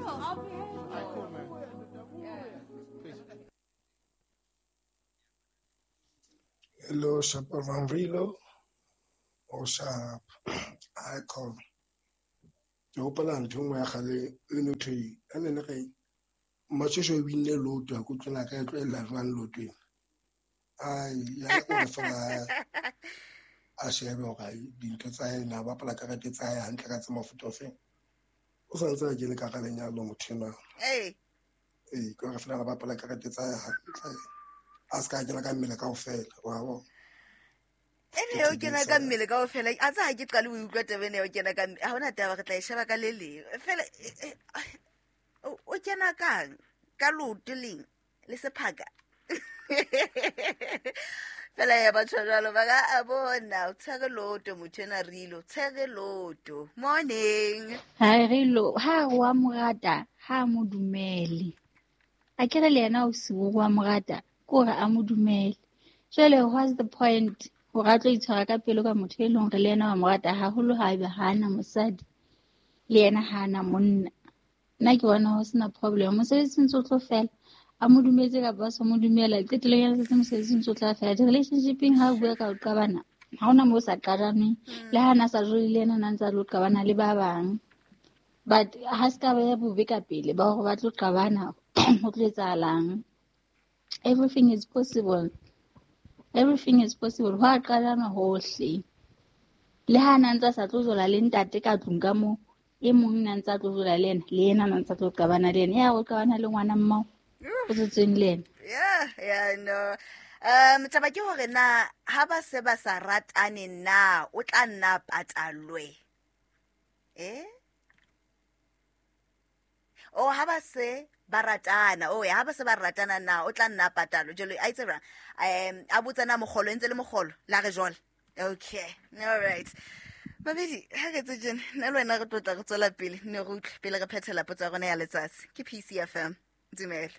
I'll be here. All right, cool, man. Peace. Hello, Shapa Van Rilo or Sharp Icon. Ke hopola ntho e nngwe ya kgale e no thwe a ne le re Mashosho o binne loto ha ke utlwela ka e tlohella jwang loto ena. Ai, ya o re fela a shebe hore dintho tsa hae na bapala karete tsa hae hantle ka tse mafuta ofeng. O sa ntse a kene ka hara lenyalo motho enwa. Ee. Ee, ke hore fela a bapala karete tsa hae hantle. A se ka kena ka mmele kaofela, wa bona. Ene o kena ka mmele kaofela, a tsa ha ke qale o utlwa taba ena ya ho kena ka mmele. Ha hona taba, re tla e sheba ka le leng. Fela, o kena kang? Ka leoto leng? Le sephaka? Fela ya batho jwalo ba ka a bona, o tshwere loto motho ena Rilo, tshwere loto. Morning. Hai Rilo, ha re wa mo rata, ha mo dumele. A ke re le yena o si wa mo rata, ke hore a mo dumele. Jwale what's the point hore a tlo itshwara ka pelo ka motho e leng hore le yena wa mo rata haholo ha ebe ha ana mosadi, le yena ha ana monna. Nna ke bona ho sena problem. Mosebetsi ntse o tlo fela. A mo dumetse kapa a sa mo dumela, qetellong ya letsatsi mosebetsi ntse o tla fela. Di-relationshipeng ha o bua ka ho qabana, ha hona moo o sa qabaneng. Le ha na sa jole le yena, na ntse a lo qabana le ba bang. But ha se ka ba ya bobe ka pele ba hore ba tlo qabana, ho tlo etsahalang. Everything is possible. Everything is possible. Ho a qabana hohle. Le ha na ntse a sa tlo jola le ntate ka tlung ka moo, e mong na ntse a tlo jola le yena, le yena na ntse a tlo qabana le yena. Ya o qabana le ngwana mmao o tswetsweng le yena. Yeah, yeah, no. Taba ke hore na ha ba se ba sa ratane na o tla nna patalwe? Eh? Oh, ha ba se ba ratana. Oh, ha ba se ba ratana na o tla nna patalwe. Jwale a itse bra. A botsa na mogolo ntse le mogolo la re jwale. Okay. All right. Babedi, ha re tse tjena, nna le wena re tlo tla re tswela pele, ne re utlwe pele re phethela potso ya rona ya letsatsi. Ke PCFM. Dumela.